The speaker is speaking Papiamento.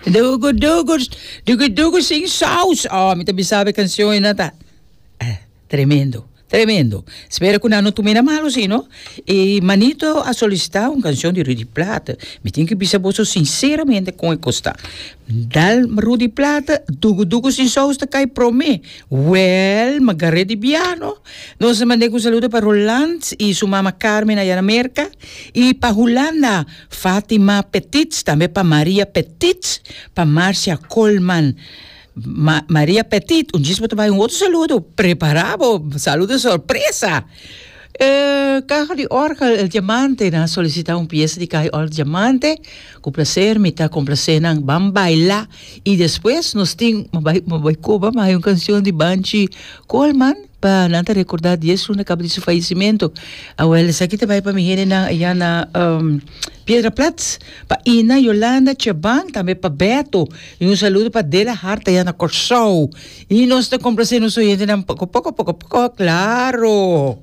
Dugu dugu, dugu dugu sin saus. Oh, mi ta bisa bo e cancion ei ta tremendo, tremendo. Spera cu nan no tuma na malo si no. E Manito a solicita un cancion di Rudy Plaate. Mi tin cu bisa boso sinceramente con e cos ta. Dal Rudy Plaate, dugu dugu sin saus ta cay prome. Wel, mi a gar'é di biano. Nos a mand'é cu un saludo pa Roland y su mama Carmen allá na Merca y pa Hulanda. Fatima Petits, tambe pa Maria Petits, pa Marcia Colman. Ma Maria Petit, un djis bo ta bai un otro saludo, prepara bo, saludo sorpresa. E caha di orgel El Diamante, nan a solicita un pieza di caha di orgel Diamante, cu placer mi ta complace nan, ban baila y despues nos tin, mi bai, mi bai coba, mi haya un cancion di Banchi Colman. Pa nan ta recorda dies luna caba di su fallecimento. Awel esaki ta bay pa mi hendenan allá na Piedra Plat, pa Ina, Yolanda, Cheban, tambe pa Beto. Y un saludo pa Dela Hart allá na Corsou. Y nos ta complace nos oyentenan poco poco poco poco, claro.